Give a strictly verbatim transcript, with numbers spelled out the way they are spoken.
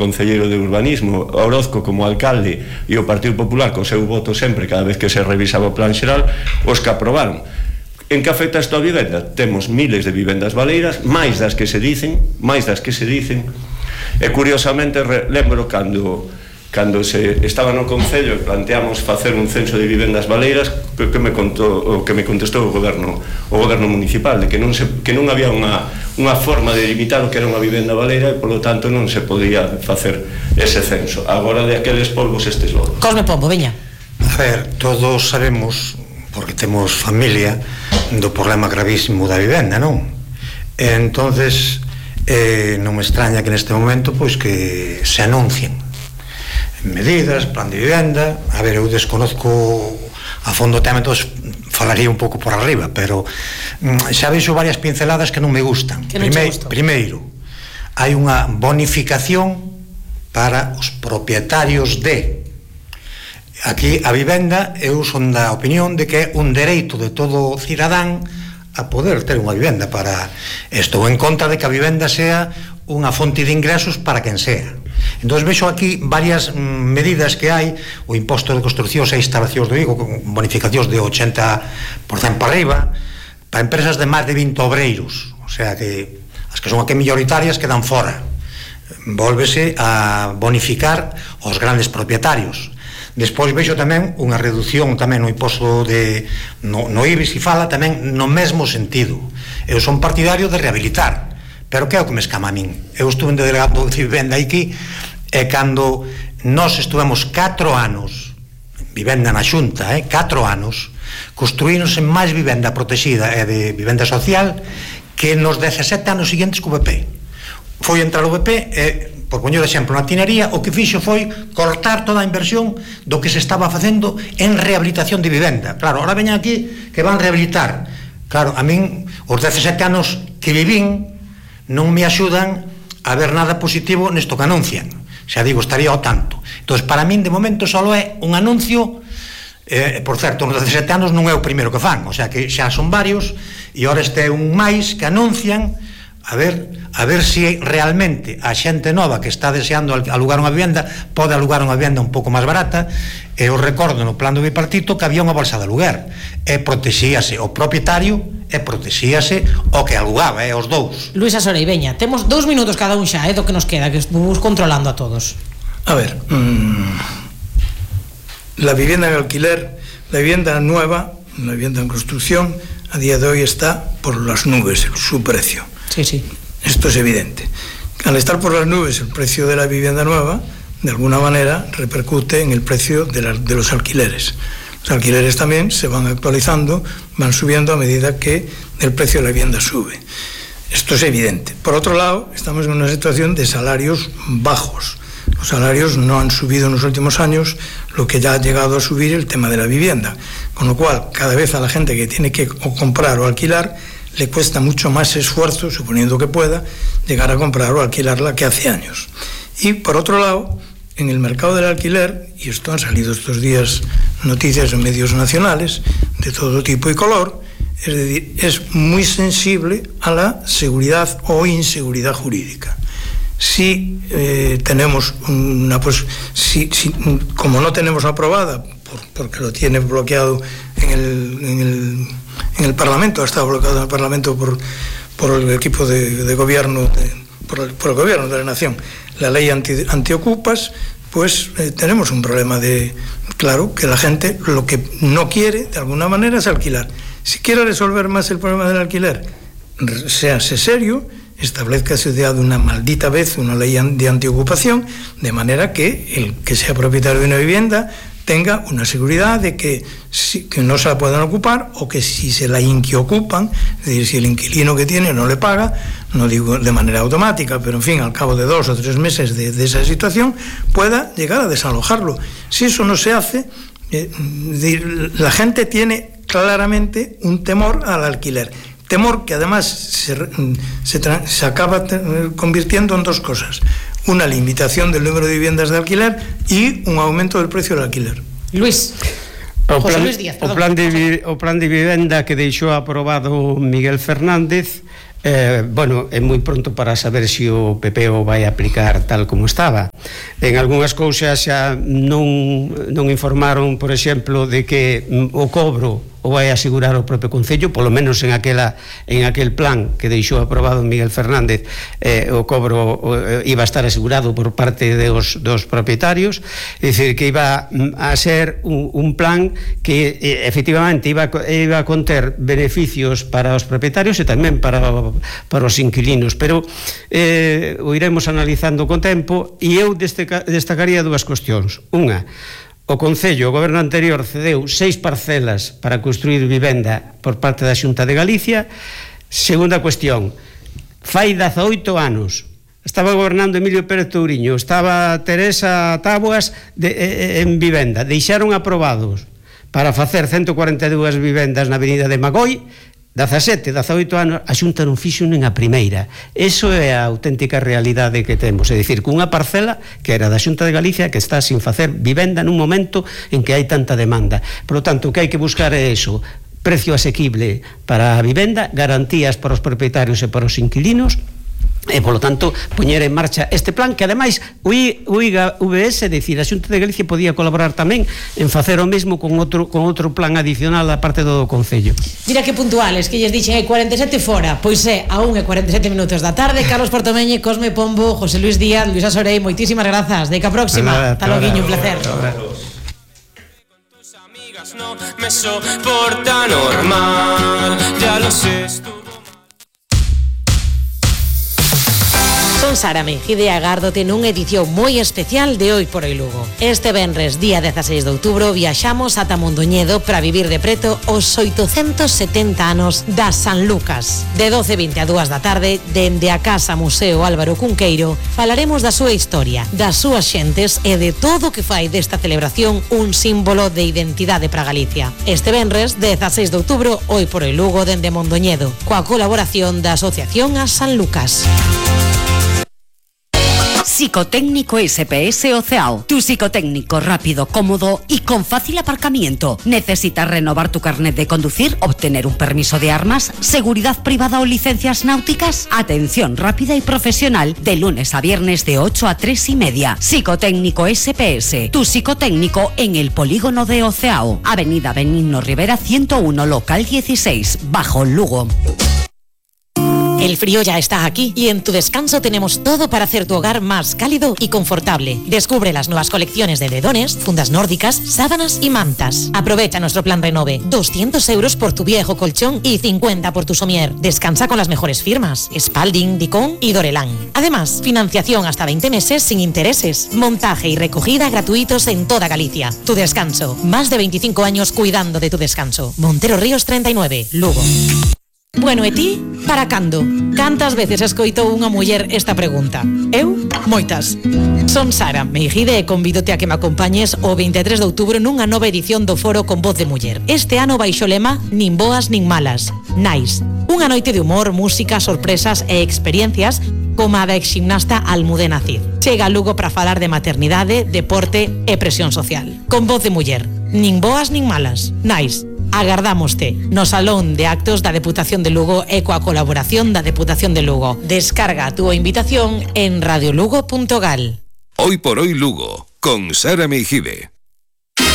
concelleiro de urbanismo, Orozco como alcalde e o Partido Popular co seu voto sempre cada vez que se revisaba o plan xeral, os que aprobaron. En que afecta isto a vivenda? Temos miles de vivendas baleiras, máis das que se dicen, máis das que se dicen, e curiosamente lembro cando cando se estaba no Concello e planteamos facer un censo de vivendas baleiras, que, que me contou, o que me contestou o goberno o goberno municipal, de que non se que non había unha unha forma de limitar o que era unha vivenda baleira e polo tanto non se podía facer ese censo. Agora de aqueles polvos estes lodos. Cosme Pombo, veña. A ver, todos sabemos, porque temos familia, do problema gravísimo da vivenda, non? E entonces eh, non me extraña que neste momento pois que se anuncien medidas, plan de vivenda. A ver, eu desconozco a fondo o tema, entón falaría un pouco por arriba, pero xa veixo varias pinceladas que non me gustan. Que non Prime, che gustou? Primeiro, hai unha bonificación para os propietarios de... Aquí a vivenda, eu son da opinión de que é un dereito de todo cidadán a poder ter unha vivenda. Para estou en contra de que a vivenda sea unha fonte de ingresos para quen sea. Entón vexo aquí varias mm, medidas que hai: o imposto de construccións e instalacións do Vigo, con bonificacións de ochenta por cento para arriba, para empresas de máis de vinte obreiros, o sea que as que son aquí mayoritarias quedan fora. Vólvese a bonificar os grandes propietarios. Despois vexo tamén unha reducción tamén no imposto de no, no I B I, se fala tamén no mesmo sentido. Eu son partidario de rehabilitar, pero que é o que me escama a min? Eu estuve en delegado de vivenda aquí, e cando nós estuvemos catro anos vivenda na Xunta, eh, catro anos, construíronse máis vivenda protegida e de vivenda social que nos dezasete anos seguintes co B P. Foi entrar o B P e, por poñer exemplo, na tinería, o que fixo foi cortar toda a inversión do que se estaba facendo en rehabilitación de vivenda. Claro, ahora veñan aquí que van rehabilitar. Claro, a min os dezasete anos que vivín non me axudan a ver nada positivo nesto que anuncian. Xa digo, estaría ao tanto. Entón, para min, de momento, só é un anuncio. Eh, por certo, nos dezasete anos non é o primeiro que fan, o sea que xa son varios, e ahora este é un máis que anuncian. A ver, a ver se realmente a xente nova que está deseando alugar unha vivenda pode alugar unha vivenda un pouco máis barata. E eu recordo no plan do bipartito que había unha bolsa de aluguer e protexíase o propietario e protexíase o que alugaba, eh, os dous. Luis Asorei, veña, temos dous minutos cada un xa, é eh, do que nos queda, que estuvimos controlando a todos. A ver, mmm, la vivienda en alquiler, la vivienda nueva, la vivienda en construcción, a día de hoy está por las nubes su precio. Sí, sí. Esto es evidente. Al estar por las nubes el precio de la vivienda nueva, de alguna manera repercute en el precio de, la, de los alquileres. Los alquileres también se van actualizando, van subiendo a medida que el precio de la vivienda sube. Esto es evidente. Por otro lado, estamos en una situación de salarios bajos. Los salarios no han subido en los últimos años, lo que ya ha llegado a subir el tema de la vivienda. Con lo cual, cada vez a la gente que tiene que o comprar o alquilar, le cuesta mucho más esfuerzo, suponiendo que pueda, llegar a comprar o alquilarla que hace años. Y por otro lado, en el mercado del alquiler, y esto han salido estos días noticias en medios nacionales de todo tipo y color, es decir, es muy sensible a la seguridad o inseguridad jurídica. Si eh, tenemos una, pues, si, si, como no tenemos aprobada, por, porque lo tiene bloqueado en el, en el en el Parlamento, ha estado bloqueado en el Parlamento por, por el equipo de, de gobierno, de, por, el, por el gobierno de la nación, la ley anti, antiocupas, pues eh, tenemos un problema de, claro, que la gente lo que no quiere, de alguna manera, es alquilar. Si quiere resolver más el problema del alquiler, séase serio, establezcase de una maldita vez una ley de antiocupación, de manera que el que sea propietario de una vivienda tenga una seguridad de que, si, que no se la puedan ocupar, o que si se la inquiocupan, es decir, si el inquilino que tiene no le paga, no digo de manera automática, pero en fin, al cabo de dos o tres meses de, de esa situación, pueda llegar a desalojarlo. Si eso no se hace, eh, la gente tiene claramente un temor al alquiler. Temor que además se, se, se acaba convirtiendo en dos cosas: una limitación del número de viviendas de alquiler y un aumento del precio del alquiler. Luis, o José plan, Luis Díaz, perdón. o plan de, o plan de vivenda que deixou aprobado Miguel Fernández Eh, bueno, é moi pronto para saber se o P P o vai aplicar tal como estaba. En algunhas cousas xa non, non informaron, por exemplo, de que o cobro o vai asegurar o propio Concello, polo menos en aquela en aquel plan que deixou aprobado Miguel Fernández, eh, o cobro o, iba a estar asegurado por parte dos, dos propietarios, é dicir, que iba a ser un, un plan que eh, efectivamente iba, iba a conter beneficios para os propietarios e tamén para, para os inquilinos, pero eh, o iremos analizando con tempo, e eu destaca, destacaría dúas cuestións. Unha, o Concello, o goberno anterior, cedeu seis parcelas para construir vivenda por parte da Xunta de Galicia. Segunda cuestión, fai dezaoito anos estaba gobernando Emilio Pérez Touriño, estaba Teresa Táboas de, eh, en vivenda, deixaron aprobados para facer ciento cuarenta e dúas vivendas na avenida de Magoi, dezasete, dezaoito anos, a Xunta non fixo nin a primeira. Eso é a auténtica realidade que temos, é dicir, cunha parcela que era da Xunta de Galicia que está sin facer vivenda nun momento en que hai tanta demanda. Por lo tanto, o que hai que buscar é eso, precio asequible para a vivenda, garantías para os propietarios e para os inquilinos, e, polo tanto, poñer en marcha este plan que, ademais, o I G A V S, é dicir, a Xunta de Galicia podía colaborar tamén en facer o mesmo con outro, con outro plan adicional a parte do Concello. Mira que puntuales, que lles dixen hai cuarenta e sete fora, pois é a unha e cuarenta e sete minutos da tarde. Carlos Portomeñe, Cosme Pombo, José Luis Díaz, Luisa Sorei, moitísimas grazas. Deca próxima. Hasta loguiño, un placer. No me soporta normal, ya lo sé. Son Sara Meijide e agárdote nunha edición moi especial de Hoy por Hoy Lugo. Este venres, día dezaseis de outubro, viaxamos ata Mondoñedo para vivir de preto os oitocentos setenta anos da San Lucas. De doce e vinte a dúas da tarde, dende a Casa Museo Álvaro Cunqueiro, falaremos da súa historia, das súas xentes e de todo o que fai desta celebración un símbolo de identidade para Galicia. Este venres, dezaseis de outubro, Hoy por Hoy Lugo, dende Mondoñedo, coa colaboración da Asociación a San Lucas. Psicotécnico S P S Oceao. Tu psicotécnico rápido, cómodo y con fácil aparcamiento. ¿Necesitas renovar tu carnet de conducir, obtener un permiso de armas, seguridad privada o licencias náuticas? Atención rápida y profesional de lunes a viernes de ocho a tres y media. Psicotécnico S P S. Tu psicotécnico en el polígono de Oceao. Avenida Benigno Rivera ciento uno, local dieciséis, Bajo Lugo. El frío ya está aquí y en Tu Descanso tenemos todo para hacer tu hogar más cálido y confortable. Descubre las nuevas colecciones de edredones, fundas nórdicas, sábanas y mantas. Aprovecha nuestro plan Renove. doscientos euros por tu viejo colchón y cincuenta por tu somier. Descansa con las mejores firmas: Spalding, Dicon y Dorelán. Además, financiación hasta veinte meses sin intereses. Montaje y recogida gratuitos en toda Galicia. Tu Descanso. Más de veinticinco años cuidando de tu descanso. Montero Ríos treinta y nueve, Lugo. Bueno, e ti, para cando? Cantas veces escoitou unha muller esta pregunta? Eu, moitas. Son Sara Meijide e convídote a que me acompañes o vinte e tres de outubro nunha nova edición do Foro con Voz de Muller. Este ano baixo lema Nin boas nin malas, Nice. Unha noite de humor, música, sorpresas e experiencias como a da exgimnasta Almudena Cid. Chega a Lugo para falar de maternidade, deporte e presión social. Con Voz de Muller. Nin boas nin malas, Nice. Agardámoste no Salón de Actos da Deputación de Lugo e coa colaboración da Deputación de Lugo. Descarga a túa invitación en radiolugo punto gal. Hoy por Hoy Lugo, con Sara Meijide.